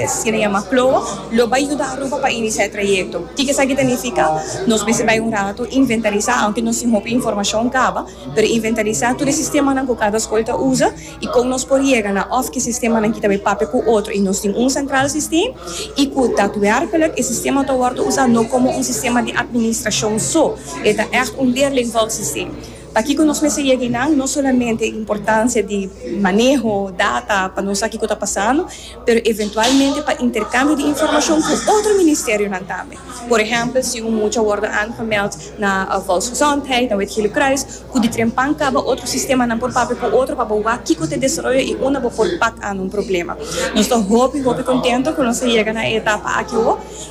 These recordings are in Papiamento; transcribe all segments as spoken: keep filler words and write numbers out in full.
Asina yama C L O A, lo bay yuda Aruba pa inicia e trayecto. Kico esaki ta significa? Nos mester bay un rato inventarisa, aunke nos tin hopi informacion caba, pero inventarisa tur e sistemanan cu cada scol ta usa y con nos por yega na of cu sistemanan aki tambe papia cu otro y nos tin un centraal systeem y cu daadwerkelijk e sistema ta wordo usa no como un sistema di administracion so, e ta echt un leerlingvolgsysteem. Aki nos mester yega no solamente importancia di maneho, data, pa nos kico ta pasando, pero eventualmente pa intercambio di informacion cu otro ministerionan tambe. Por ehempel, si un mucha wordo aangemeld na uh, Volksgezondheid, na Wit Gele Kruis, cu di trempan caba otro sistemanan por papia cu otro pa wak kico ta desaroyo y unda bo por pak aan un problema. Nos ta hopi hopi contento cu nos a yega na e etapa aki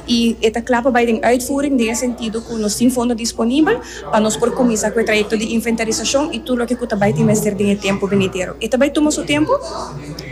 y ta cla pa den uitvoering den sentido cu nos tin fondo disponibel pa nos por cuminsa cu e trayecto di inventarisacion y tur loke cu tambe tin mester den tempo venidero. E tambe tuma su tempo,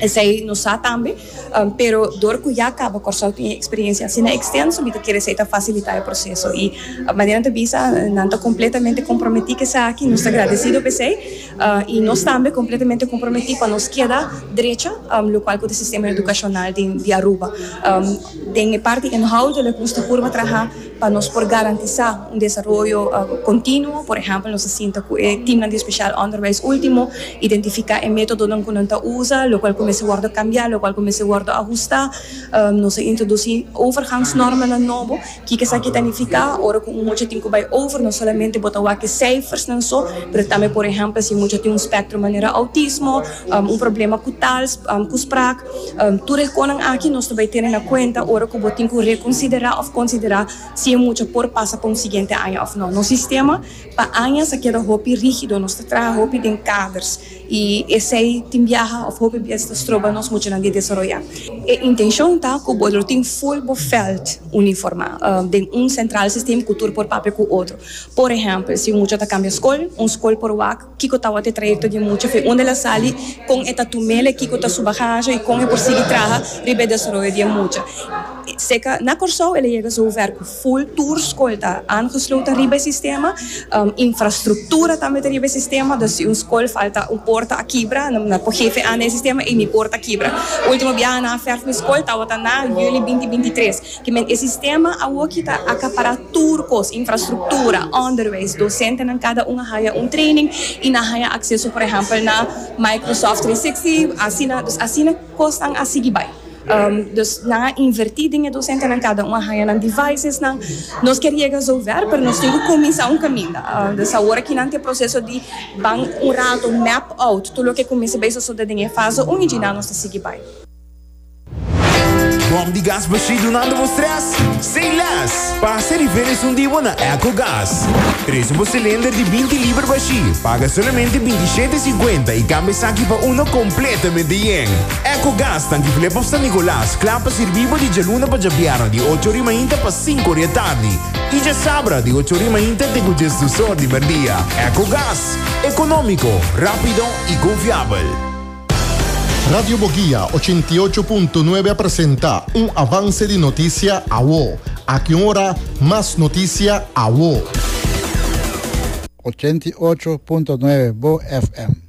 esey nos sa tambe, um, pero door cu ya caba Corsou tin experiencia asina extenso, mi kier ta facilita e proceso y e manera di bisa nan ta completamente comprometi cu esaki, nos ta agradecido p'esey, uh, y nos tambe completamente comprometi pa nos keda drecha, um, loke cu e sistema educacional di, di Aruba. Um, den parti inhoudelijk nos ta purba traha pa nos por garantisa un desaroyo uh, continuo. Por ehempel, nos a sinta cu e team di speciaal onderwijs ultimo, identifica e metodonan cu nan ta usa, loke cu mester wordo cambia, loke cu mester wordo ahusta, um, nos a introduci overgangsnormen nobo. Kico esaki ta significa? Ora cu un mucha tin cu bay over, no solamente bo ta wak cijfernan so, pero tambe, por ehempel, si mucha tin un spectrum manera autismo, um, un problema cu taal, um, cu spraak, um, tur e cosnan aki nos tambe tene na cuenta ora cu bo tin cu reconsidera of considera si mucha por pasa pa un siguiente aña of no. Nos sistema pa aña a keda hopi rigido, nos ta traha hopi den kaders y esey tin biaha of hopi biaha ta stroba nos muchanan di desaroya. E intencion ta cu bo tin full bo veld uniforma, um, den un centraal systeem cu tur por papia cu otro. Por ehempel, si mucha ta cambia scol, un scol por wak kico ta e trayecto di mucha, for unda el a sali, con e ta tum'e, kico ta su bagage y con e por sigui traha riba desaroyo di mucha. Zeker na Corsou, el a yega zover cu full tur scol ta aangesloten riba sistema, um, infrastructura tambe ta riba sistema, dus si un scol falta un porta a kibra, nan por geef aan e sistema y mi porta a kibra. Ultimo biaha nan a verf mi scol tabata na juli binti bintitres. Kiermen e sistema awo ta acapara tur cos, infrastructura, onderwijs, docentenan cada un a haya un training y nan a haya acceso, por ehempel, na Microsoft driehonderdzestig, asina, dus asina cosnan a sigui bay. Um, dus nan a inverti den docentenan, cada un a haya nan devices nan. Nos kier yega zover, pero nos tin cu cuminsa un caminda. Uh, dus awor aki nan tin proceso di ban un rato map out tur loke cuminsa bay so den fase un y nos ta sigui bay. Bom di gas bashí dunando bo stress? Say less! Pasa riba un dia na EcoGas. Trece un cilinder di binti liber bashí. Paga solamente bintishete cincuenta y cambia esaki pa uno completamente yen. EcoGas, Tanki Flip of San Nicolas, cla pa sirbi di dialuna pa diabierna di ocho or di mainta pa cinco or di atardi. Y diasabra di ocho or di mainta te diesdos or di merdia. EcoGas, economico, rapido y confiabel. Radio Boguia ochenta y ocho punto nuebe a presenta un avance di noticia awo. Aki un ora, mas noticia awo. ochenta y ocho punto nuebe Bo F M.